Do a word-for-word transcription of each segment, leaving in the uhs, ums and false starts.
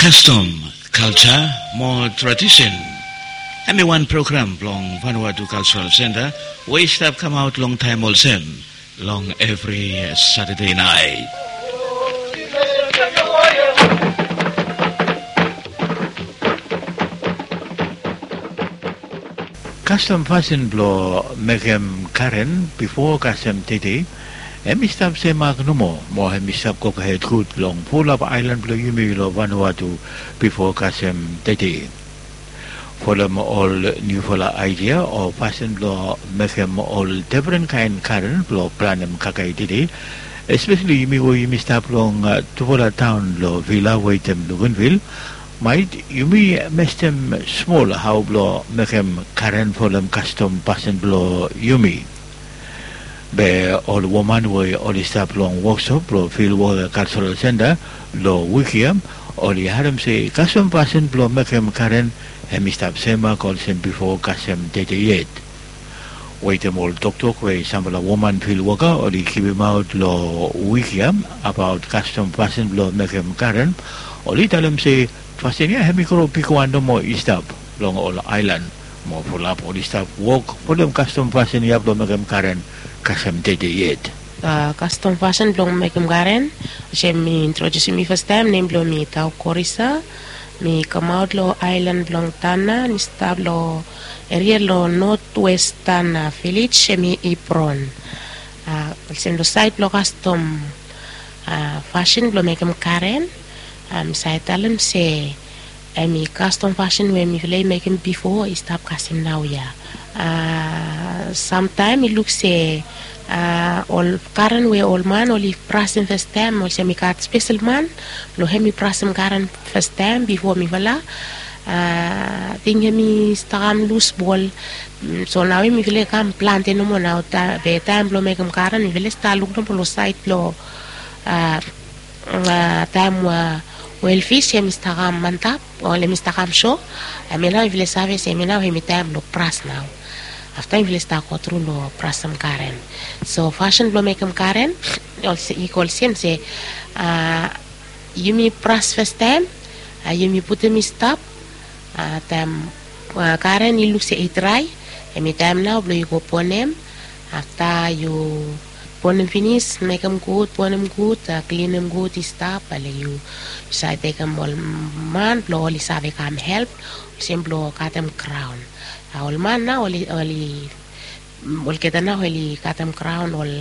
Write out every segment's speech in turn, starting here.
Kastom, kalja mo tradisen. Em i wan program blong Vanuatu Cultural Center we i stap kamaot long taem olsem long evri Satade naet. Kastom fasin blong mekem karen bifo kasem tede, em i stap semak nomo mo em i stap gohed gud long fulap aelan blong yumi long Vanuatu bifo kasem tede. Folem ol niufala aedia o fasin blong mekem ol defren kaen karen blong planem kakae tede, espeseli yumi we yumi stap long tufala taon long Vila wetem Luganville, maet yumi mestem smol hao blong mekem karen folem kastom fasin blong yumi. Be ol woman we oli stap long woksop blong Fil Woka Kaljaral Senta long wik ya, oli harem se kastom fasin blong mekem karen hem i stap semak olsem bifo kasem tede yet. Wetem ol toktok we sampela woman fil woka oli givimaot long wik ya abaot kastom fasin blong mekem karen, oli talem se fasin ya hem i gro bigwan nomo i stap long ol aelan, mo fulap oli stap wok folem kastom fasin ya blong mekem karen kasem tede yet. A, kastom fasin blong mekem karen, olsem mi introdiusim mi fastaem, nem blong mi Tau Korisa. Mi kamaot long aelan blong Tana, mi stap long eria long notwestan vilej, em i Ipron. A, olsem long saed blong kastom, a, fasin blong mekem karen, a, mi save talem se em i kastom fasin we mifala i mekem bifo i stap kasem naoia. A, samtaem i luk se, a, ol karen we ol man oli brasem fastaem, olsem i gat spesel man blong hem i brasem karen fastaem bifo mifala. A, ting hem i stap kam lus bol. Mm, so naoia mifala i kam plante nomo nao, be taem blong mekem karen mifala i stap luk nomo long saed blong, a, a, taem, a, wel fis hem i stap kam antap, o hem i stap kam so, hemia nao mifala i save se hemia nao hem i taem blong bras nao. Afta mifala i stap gotru long brasem karen. So fasin blong mekem karen, olse-, i go olsem se, a, yumi bras fastaem, a, yumi putum i stap, a, taem, a, karen i luk se i drae, hem i taem nao blong yu go bonem. Afta yu bonem finis, mekem gud, bonem gud, a, klinim gud i stap, ale yu save tekem ol man blong oli save kam help, olsem blong katem graon. A, ol man nao oli, oli, mm, olgeta nao oli katem graon, ol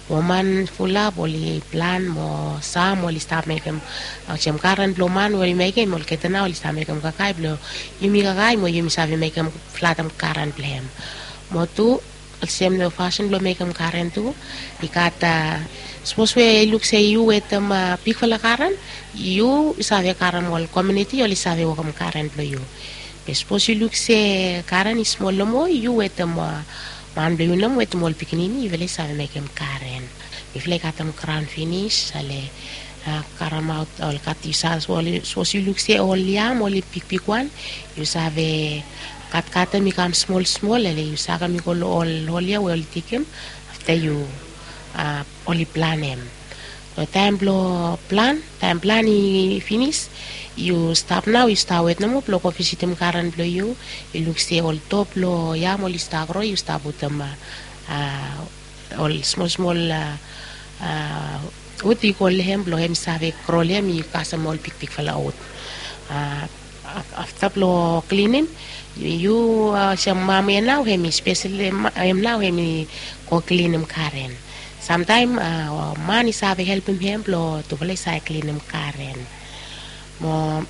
woman fulap oli plan mo sam oli stap mekem, a, olsem karen blong man we oli mekem, olgeta nao oli stap mekem kakae blong yumi kakae mo yumi save mekem flatem karen blong hem. Mo tu, olsem long fasin blong mekem karen tu, i gat, a, sapos we i luk se yu wetem, a, bigfala karen, yu save karem ol komuniti oli save wokem karen blong yu. Be sapos yu luk se karen i smol nomo, yu wetem, a, man blong yu nomo wetem ol pikinini, yufala i save mekem karen. Mifala i katem graon finis, ale, a, karemaot ol kat i sa, sapos yu luk se ol yam oli bigbigwan, yu save katkatem i kam smol smol, ale yu sakem i go long ol hol ya we oli digim. Afta yu, a, oli planem. Long taem blong plan, taem plan i finis, yu stap nao, yu stap wet nomo blong go visitim karen blong yu. Yu luk se ol top blong yam oli stap gro, yu stap putum, a, a, ol smol smol, a, a, wud i go long hem blong hem i save gro long hem i kasem ol bigbigfala wud. A, af-, afta blong klinim, yu, yu, a, olsem mam ya nao hem i spesel, em, hem nao hem i go klinim karen. Samtaem, a, man i save helpem hem blong tufala i save klinim karen. Mo,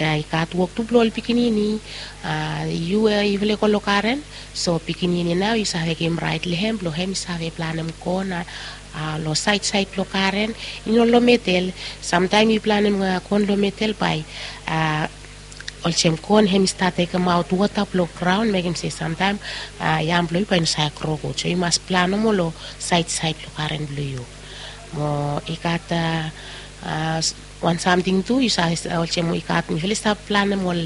a, i gat wok tu blong ol pikinini, a, yu, a, yufala i go long karen, so pikinini nao yu save givim raet long hem blong hem i save planem kon, a, a, long saed saed blong karen, i no long medel. Samtaem yu planem, a, kon long medel bae, a, olsem kon hem i stat tekemaot wota blong graon, mekem se samtaem, a, yam blong yu bae i no save gro gud. So yu mas plan nomo long saed saed blong karen blong yu. Mo i gat, a, a, s-, wan samting tu, yu save, olsem i gat, mifala i stap planem ol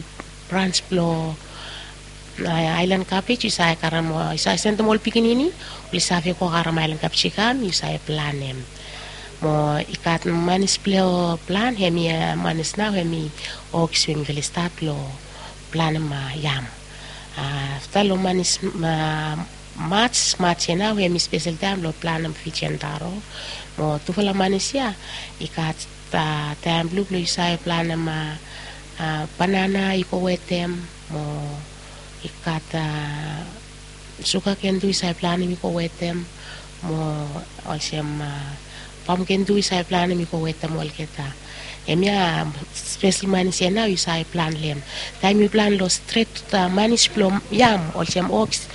brans blong, a, aelan kabej, yu save karem, yu save sendem ol pikinini oli save go karem aelan kabej i kam, yu save planem. Mo i gat manis blong plan, hemi manis nao hemi oks we mifala i stat long planim yam. Afta long manis mats mats ya nao hemi spesel taim blong planim fijian taro. Mo tufala manis ya i gat taim blong blong yu save planim banana i go wetem, mo i gat suga ken tu yu save planim i go wetem, mo olsem pam ken tu yu save planim i go wetem olgeta. Hemia spesel manis ya nao yu save plan long hem. Taim yu plan long stret manis blong yam olsem oks,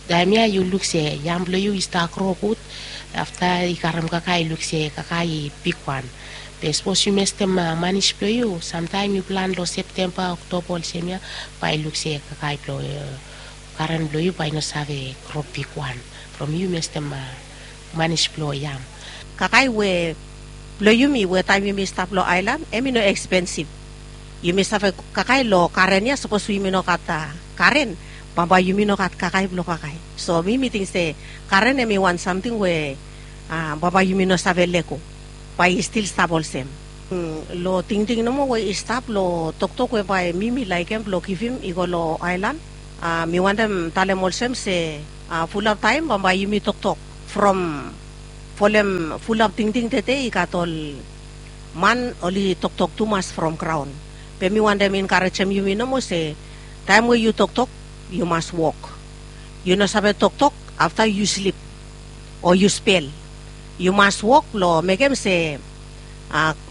taim ya yu luk se yam blong yu i stap gro gud. Afta i karim kakae i luk se kakae i bigwan. Be sapos yu mestem manis blong yu, samtaim yu plan long septemba oktoba olsem ya, bae i luk se kakae blong karen blong yu bae i no save gro bigwan from yu mestem manis blong yam. Kakae we blong yumi we taim yumi stap long aelan, em i no ekspensif. Yumi save kakae long karen ya, sapos yumi no gat karen, bambae yumi no gat kakae blong kakae. So mi mi ting se karen em i wan samting we bambae yumi no save lego, bae i stil stap olsem. Long tingting nomo we i stap long toktok we bae mi mi laekem blong givim i go long aelan, mi wantem talem olsem se fulap taim bambae yumi toktok from folem fulap tingting tede i gat ol man oli toktok tumas from graon. Be mi wantem enkarejem yumi nomo se taim we yu toktok, yu mas wok. Yu no save toktok afta yu slip o yu spel. Yu mas wok blong mekem se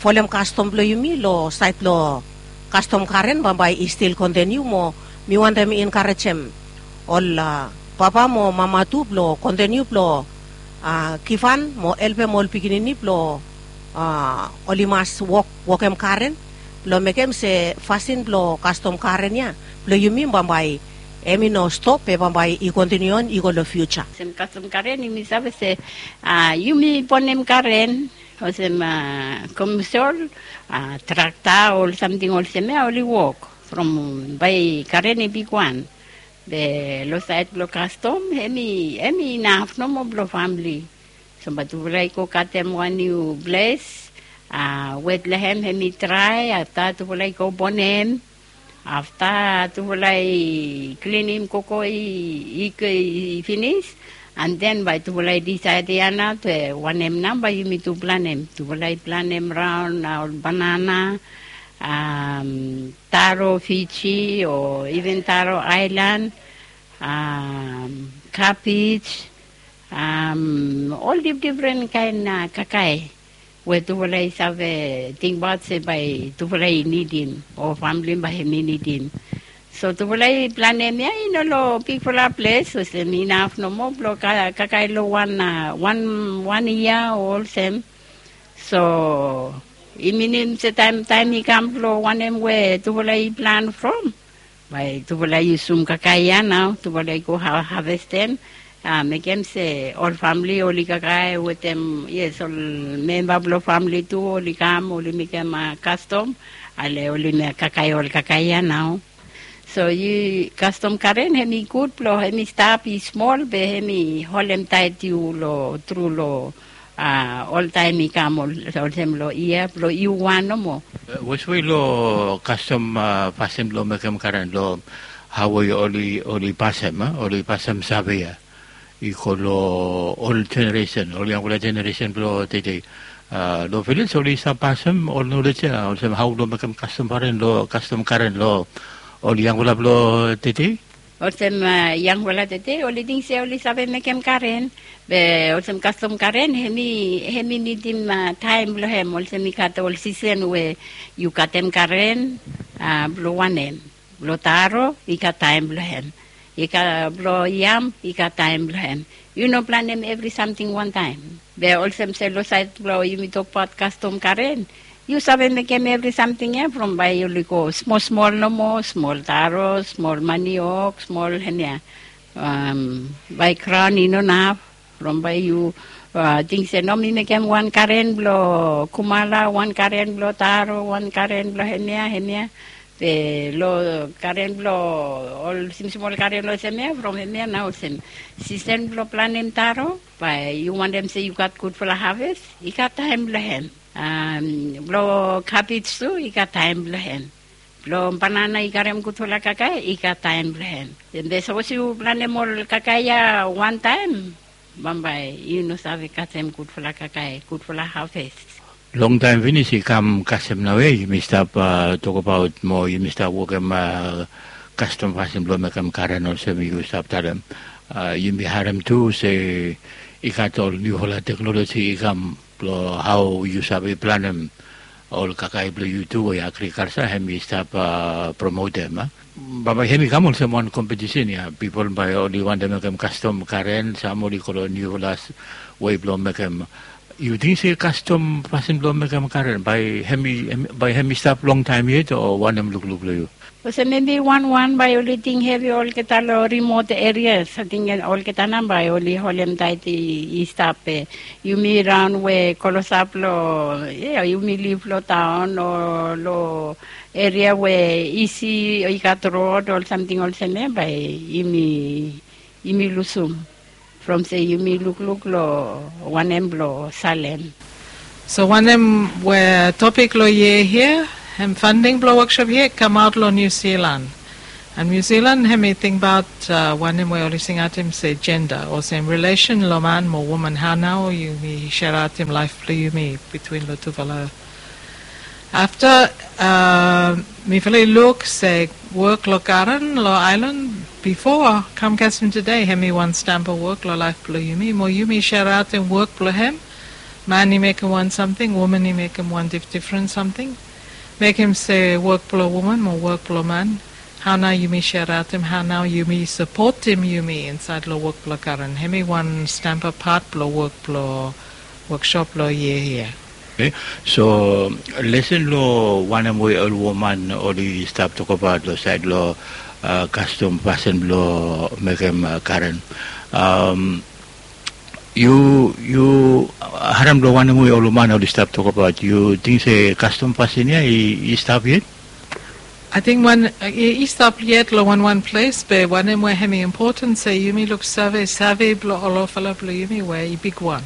folem kastom blong yumi long sait blong kastom karen bambae i stil kontiniu. Mo mi wantem enkarejem ol papa mo mama tu blong kontiniu blong givhan mo helpem ol pikinini blong oli mas wok wokem karen blong mekem se fasin blong kastom karen ya blong yumi bambae em i no stop, be bambae i kontiniu on i go long fiuja. Olsem kastom karen yumi save se yumi bonem karen olsem komsol, trakta, ol samting olsem ya oli wok from bae karen i bigwan. Be long sait blong kastom em i inaf nomo blong famili. So bae tufala i go katem wan niu ples, wet long hem hem i drae, afta tufala i go bonem. Afta tufala i klinim koko i finis, an den bae tufala i disaed ya nao se wanem nao bae yumi tu planem. Tufala i planem raon ol banana, taro Fiji o iven taro aelan, kabej, ol difdifren kaen kakae we tufala i save tingbaot se bae tufala i nidim o famili bae hem i nidim. So tufala i planem ya i no long bigfala ples, olsem inaf nomo blong kakae long wan wan wan yia o olsem. So i minim se taem taem i kam blong wanem we tufala i plan from, bae tufala i yusum kakae ya nao, tufala i go havestem, mekem se ol famili oli kakae wetem, yes, ol memba blong famili tu oli kam oli mekem kastom, ale oli kakae ol kakae ya nao. So yu kastom karen hem i gud blong hem i stap i smol be hem i holem taet yu long tru long oltaem i kam olsem long yia blong yu wan nomo. Weswe long kastom fasin blong mekem karen long hao we oli pasem oli pasem save ya i go long ol jeneresen, ol yangfala jeneresen blong tede. Long vilej oli save pasem ol nolej ya olsem hao blong mekem kastom karen long kastom karen long ol yangfala blong tede. Olsem yangfala tede oli ting se oli save mekem karen, be olsem kastom karen hem i nidim taem blong hem, olsem i gat ol sisen we yu katem karen blong wanem. Blong taro i gat taem blong hem, i gat blong yam i gat taem blong hem. Yu no planem evri samting wantaem. Be olsem se long saed blong yumi tokbaot kastom karen, yu save mekem evri samting ya from bae oli go smol smol nomo, smol taro, smol maniok, smol hemia, bae graon i no naf. From bae yu ting se no mi mekem wan karen blong kumala, wan karen blong taro, wan karen blong hemia hemia. Be long karen blong ol simsim ol karen olsem ya, from hemia nao olsem, sisen blong planem taro, bae yu wantem se yu gat gudfala haves, i gat taem blong hem. Blong kabej tu i gat taem blong hem. Blong banana i karem gudfala kakae, i gat taem blong hem. Be sapos yu planem ol kakae ya wantaem, bambae yu no save kasem gudfala kakae, gudfala haves. Longtaem finis i kam kasem naoia yumi stap tokabaot mo yumi stap wokem kastom fasin blong mekem karen olsem yu stap talem. Yumi harem tu se i gat ol niufala teknoloji i kam blong hao yu save planem ol kakae blong yu tu we agrikalsa hem i stap promotem. Bambae hem i kam olsem wan kompetisen ya, pipol bae oli wantem mekem kastom karen, sam oli go long niufala wei blong mekem. Yu ting se kastom fasin blong mekem karen bae hem i stap longtaem yet o wanem lukluk blong yu? Olsem maybe wanwan bae oli ting hevi olgeta long rimot erias, ating olgeta nao bae oli holemtaet i stap. Yumi raon we klosap long, yumi liv long taon o long eria we isi i gat rod o samting olsem ya, bae yumi lusum from se yumi lukluk long wanem blong salem. So wanem we topik long yia hia, hem fanding blong woksop hia i kamaot long Niu Silan. An Niu Silan hem i tingbaot wanem we oli singaotem se jenda, olsem rilesen long man mo woman, hao nao yumi seraotem laef blong yumi bitwin long tufala. Afta mifala i luk se wok long garen long aelan bifo kam kasem tede, hem i wan stamba wok long laef blong yumi mo yumi seraotem wok blong hem. Man i mekem wan samting, woman i mekem wan difdifren samting. Mekem se wok blong woman mo wok blong man, hao nao yumi seraotem, hao nao yumi sapotem yumi insaed long wok blong garen, hem i wan stamba pat blong wok blong woksop long yia hia. So lesen long wanem we ol woman oli stap tokabaot long saed long kastom fasin blong mekem karen. Yu, yu harem long wanem we ol woman oli stap tokabaot, yu ting se kastom fasin ya i stap yet? Ating wan i stap yet long wanwan ples, be wanem we hem i impoten se yumi luksave save blong olfala blong yumi we i bigwan.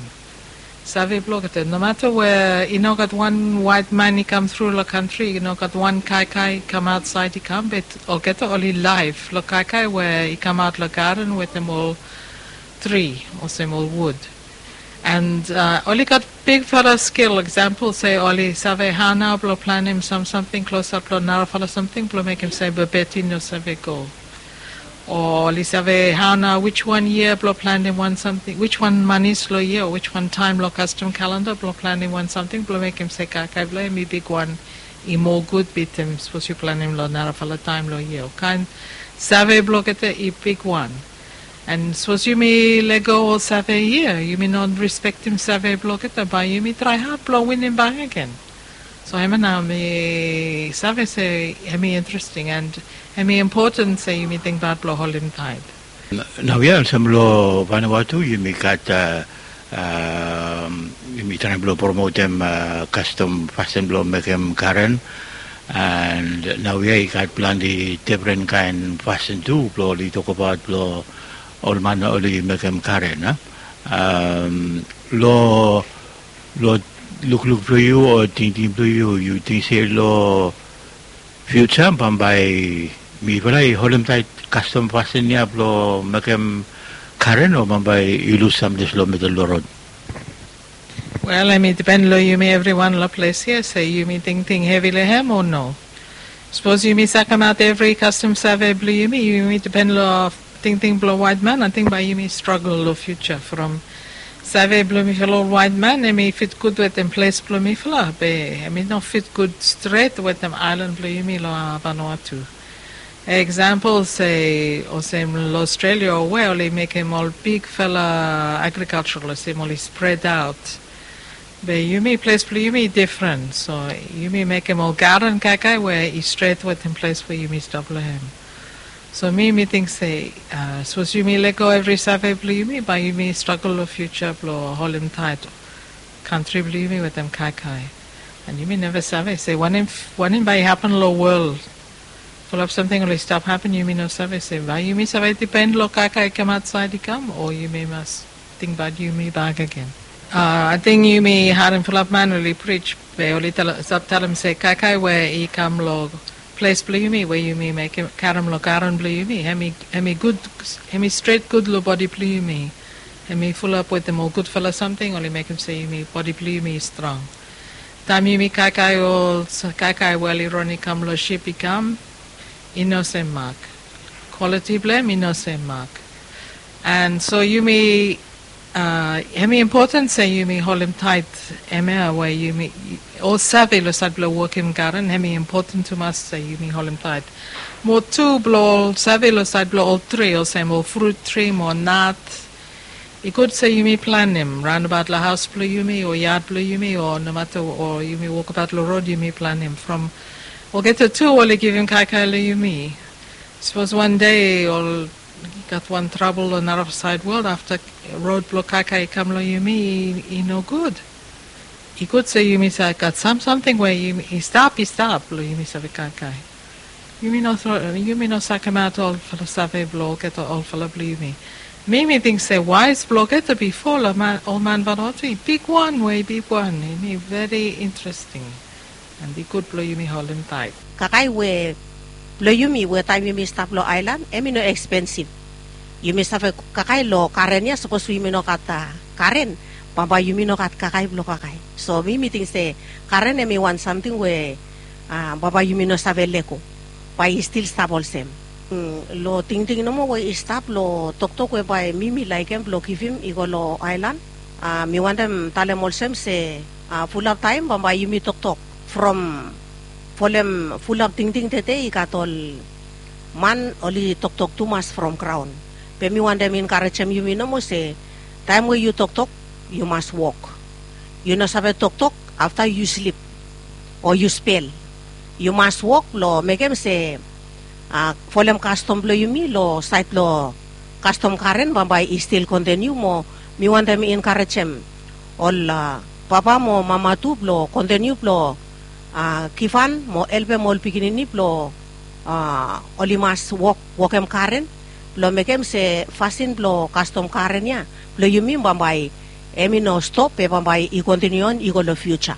Save blogeta, nomata we i no gat wan waet man i kam tru long kantri, i no gat wan kaikai i kam aotsaed i kam, be olgeta oli laef long kaikai we i kamaot long garen wetem ol tri olsem ol wud. An oli gat bigfala skil, eksampol se oli save hao nao blong planem sam samting klosap long narafala samting blong mekem se bebet i no save go. O oli save hao nao wijwan yia blong planem wan samting, wijwan manis long yia o wijwan taem long kastom kalenda blong planem wan samting blong mekem se kaikai blong hem i bigwan, i moa gud bitim sapos yu planem long narafala taem long yia. Ol kaen save blogeta i bigwan. An sapos yumi lego ol save hia, yumi no rispektem save blogeta, bae yumi trae had blong winim bakegen. So hemia nao mi save se hem i interesting an hem i impoten se yumi tingbaot blong holemtaet. Naoia olsem long Vanuatu yumi gat, yumi traem blong promotem kastom fasin blong mekem karen. An naoia i gat plante difren kaen fasin tu blong oli tokbaot blong ol man oli mekem karen. Long lukluk blong yu o tingting blong yu, yu ting se long fiuja bambae mifala i holemtaet kastom fasin ya blong mekem karen o bambae i lus samples long midel blong rod? Wel, hem i dipen long yumi evriwan long ples ya se yumi tingting hevi long hem o no. Sapos yumi sakemaot evri kastom save blong yumi, yumi dipen long tingting blong waet man, ating bae yumi stragol long fiuja from save blong mifala ol waet man hem i fit gud wetem ples blong mifala, be hem i no fit gud stret wetem aelan blong yumi long Vanuatu. Eksampol se olsem long Australia o we oli mekem ol bigfala agrikalja olsem oli spredaot. Be yumi ples blong yumi i difren, so yumi mekem ol garen kaikai we i stret wetem ples we yumi stap long hem. So mi mi ting se sapos yumi lego evri save blong yumi, bae yumi stragol long fiuja blong holemtaet kantri blong yumi wetem kaikai. An yumi neva save se wanem bae i hapen long wol Fulap samting oli stap hapen, yumi no save se bae yumi save dipen long kaikai i kam aotsaed i kam, o yumi mas tingbaot yumi bakegen. Ating yumi harem fulap man oli prij, be oli stap talem se kaikai we i kam long ples blong yumi we yumi mekem karem long garen blong yumi, hem i gud, hem i stret gud long bodi blong yumi. Hem i fulap wetem ol gudfala samting oli mekem se yumi bodi blong yumi i strong. Taem yumi kaikai ol kaikai we oli ron i kam long sip i kam, i no sem mak. Kwaliti blong hem i no sem mak. And so yumi, hem i impoten se yumi holem taet hemia we yumi ol save long saed blong wokem garen, hem i impoten tumas se yumi holem taet. Mo tu blong ol save long saed blong ol tri, olsem ol frut tri mo nat, i gud se yumi planem raonabaot long haos blong yumi o yad blong yumi o nomata o yumi wokabaot long rod, yumi planem from olgeta tu oli givim kaikai long yumi. Sapos wan dei ol gat wan trabol long narasaed wol afta rod blong kaikai i kam long yumi, i no gud. I gud se yumi save gat sam samting we i stap, i stap blong yumi save kaikai. Yumi no, yumi no sakemaot olfala save blong olgeta olfala blong yumi. Mi mi ting se waes blong olgeta bifo long ol man Vanuatu i bigwan we i bigwan, hem i veri interesting. And i gud blong yumi holem taet. Kaikai we blong yumi we taem yumi stap long aelan, hem i no ekspensif. Yumi save kaikai long garen ya, sapos we yumi no gat garen, bambae yumi no gat kaikai blong kaikai. So mi mi ting se garen hem i wan samting we bambae yumi no save lego, bae i stil stap olsem. Long tingting nomo we i stap long toktok we bae mi mi laekem blong givim i go long aelan, mi wantem talem olsem se fulap taem bambae yumi toktok from folem fulap tingting tede i gat ol man oli toktok tumas from graon. Be mi wantem enkarejem yumi nomo se taem we yu toktok, yu mas wok. Yu no save toktok afta yu slip o yu spel. Yu mas wok blong mekem se folem kastom blong yumi long saed blong kastom garen bambae i stil kontiniu. Mo mi wantem enkarejem ol papa mo mama tu blong kontiniu blong givhan mo helpem ol pikinini blong oli mas wok, wokem garen blong mekem se fasin blong kastom garen ya blong yumi bambae hem i no stop, be bambae i kontiniu on i go long fiuja.